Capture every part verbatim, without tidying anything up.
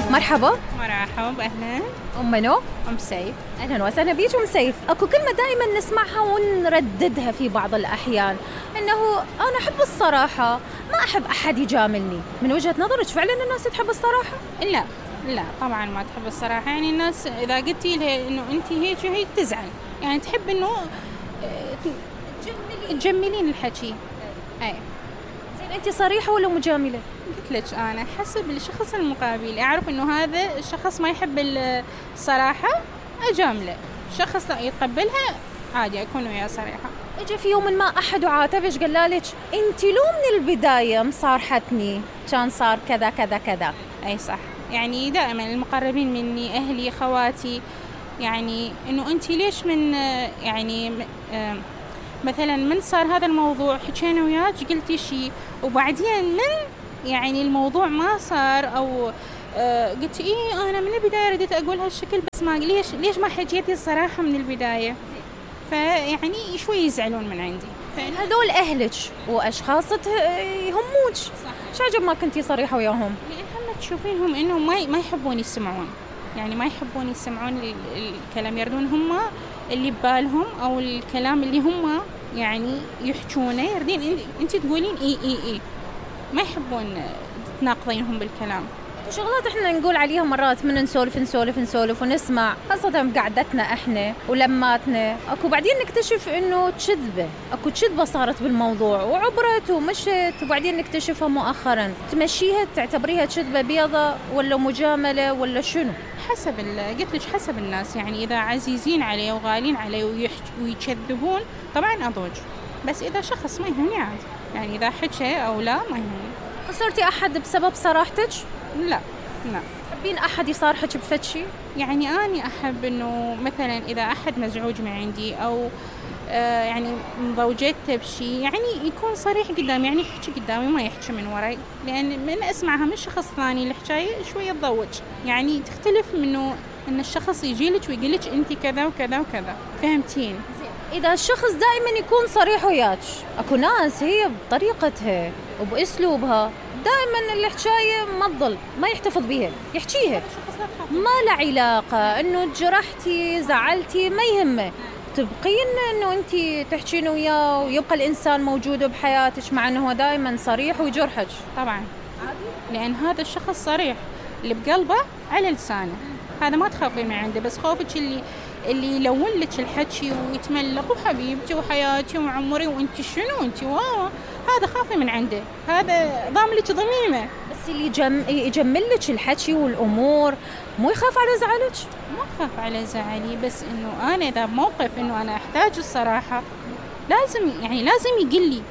مرحبا. مرحبا، أهلا. أم منو؟ أم سيف. أهلا وسهلا بيك أم سيف. أكو كلمة دائما نسمعها ونرددها في بعض الأحيان، إنه أنا أحب الصراحة، ما أحب أحد يجاملني. من وجهة نظرك فعلا الناس تحب الصراحة؟ لا لا طبعا ما تحب الصراحة. يعني الناس إذا قلتي لها إنه أنت هيك وهيك تزعل، يعني تحب إنه تجملين الحكي. أي زين، أنت صريحة ولا مجاملة؟ قلت لك أنا حسب الشخص المقابل، أعرف إنه هذا الشخص ما يحب الصراحة أجامله، شخص لا يتقبلها عادي أكون وياه صريحة. إجا في يوم ما أحد وعاتبش قال لك أنت لو من البداية مصارحتني كان صار كذا كذا كذا؟ أي صح، يعني دائما المقربين مني أهلي خواتي، يعني إنه أنت ليش من يعني مثلا من صار هذا الموضوع حكينا وياك قلتي شيء وبعدين من يعني الموضوع ما صار أو آه قلت إيه أنا من البداية رديت أقول هالشكل بس ما ليش ليش ما حكيتي الصراحة من البداية، فيعني شوي يزعلون من عندي. هذول أهلك وأشخاص يهموك، شو عجب ما كنتي صريحة وياهم؟ لأنهم تشوفينهم إنهم ما ما يحبون يسمعون، يعني ما يحبون يسمعون الكلام، يردون هم اللي ببالهم أو الكلام اللي هم يعني يحجونه يردين أنت تقولين إيه إيه إيه، ما يحبون تناقضينهم بالكلام. شغلات احنا نقول عليها مرات من نسولف نسولف نسولف ونسمع، خاصة بقعدتنا احنا ولماتنا، اكو بعدين نكتشف انه كذبة، اكو كذبة صارت بالموضوع وعبرت ومشت، وبعدين نكتشفها مؤخرا. تمشيها تعتبريها كذبة بيضة ولا مجاملة ولا شنو؟ حسب قلت لك حسب الناس، يعني اذا عزيزين عليه وغالين عليه ويكذبون طبعا اضوج، بس اذا شخص ما يهمني عادي، يعني اذا حكى او لا ما يهمني. خسرتي احد بسبب صراحتك؟ لا لا. تحبين أحد يصارحك بفتشي؟ يعني أنا أحب إنه مثلا إذا أحد مزعوج من عندي أو آه يعني مضوجته بشي، يعني يكون صريح قدامي، يعني يحكي قدامي ما يحكي من وراي، لأن من أسمعها من شخص ثاني الحكاية شوية تضوج، يعني تختلف منه إن الشخص يجيلك ويقولك أنت كذا وكذا وكذا، فهمتين؟ إذا الشخص دائما يكون صريح وياك، أكو ناس هي بطريقتها وبأسلوبها دائما الحكاية ما تظل، ما يحتفظ بيها، يحكيها، ما له علاقة إنه جرحتي زعلتي ما يهمه، تبقين إنه أنت تحكين وياه ويبقى الإنسان موجود بحياتك مع إنه هو دائما صريح ويجرحك. طبعا لأن هذا الشخص صريح، اللي بقلبه على لسانه، هذا ما تخافي من عنده، بس خوفك اللي اللي يلون لك الحكي ويتملق وحبيبتي وحياتي وعمري وانت شنو انت واو، هذا خافي من عنده، هذا ضام لك ضميمه. بس اللي يجم... يجمل لك الحكي والامور مو يخاف على زعلك؟ ما خاف على زعلي، بس انه انا اذا بموقف انه انا احتاج الصراحه لازم يعني لازم يقول لي،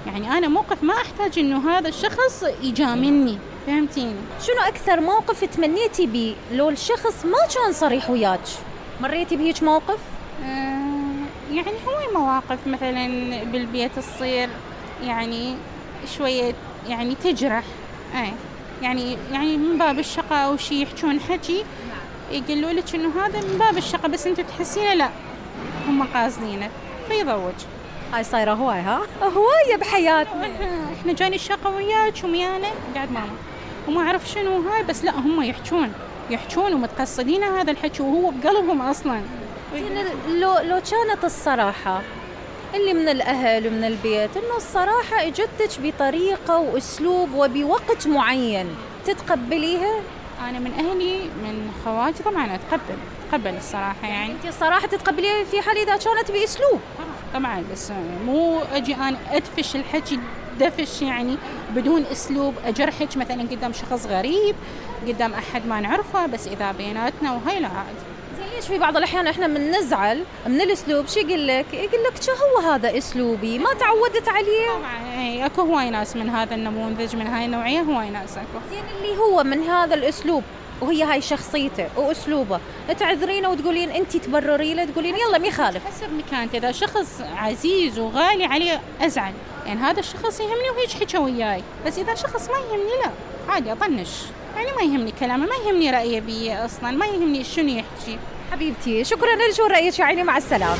يعني انا موقف ما احتاج انه هذا الشخص يجاملني، فهمتيني؟ شنو اكثر موقف تمنيتي بيه لو الشخص ما كان صريح وياك؟ مريتي بهيج موقف؟ آه يعني هو مواقف مثلا بالبيت تصير يعني شوية يعني تجرح، اي يعني يعني من باب الشقة او شيء يحكون حكي يقولوا لك انه هذا من باب الشقة بس انتوا تحسينه لا هم قاصدينه فيضوج. هاي صايرة هواي، ها هواية بحياتنا. احنا جاني الشقة وياك وميانا قاعد ماما وما اعرف شنو هاي، بس لا هم يحكون يحكون ومتقصدين هذا الحكي وهو بقلبهم اصلا. لو لو كانت الصراحة اللي من الأهل ومن البيت إنه الصراحة اجتك بطريقة وأسلوب وبوقت معين، تتقبليها؟ أنا من أهلي من خواتي طبعا أتقبل أتقبل الصراحة، يعني أنت الصراحة تتقبليها في حال إذا كانت بأسلوب؟ طبعا، بس مو أجي أنا أدفش الحكي دفش يعني بدون أسلوب، أجرحك مثلا قدام شخص غريب قدام أحد ما نعرفه، بس إذا بيناتنا وهي لا عادي. ليش في بعض الأحيان إحنا من نزعل من الأسلوب، شو يقول لك؟ يقول لك شو هو هذا أسلوبي ما تعودت عليه. طبعا أي أكو هواي ناس من هذا النموذج من هاي النوعية، هواي ناس أكو. زين اللي هو من هذا الأسلوب وهي هاي شخصيته وأسلوبه، تعذرينه وتقولين أنت تبرري له، تقولين يلا ما يخالف. حسب مكانته، إذا شخص عزيز وغالي عليه أزعل، يعني هذا الشخص يهمني وهيك حكى وياي، بس إذا شخص ما يهمني لا عادي أطنش، يعني ما يهمني كلامه، ما يهمني رأيه بي أصلا، ما يهمني شنو يحكي. حبيبتي شكرا لك ورأيك، عيني مع السلامة.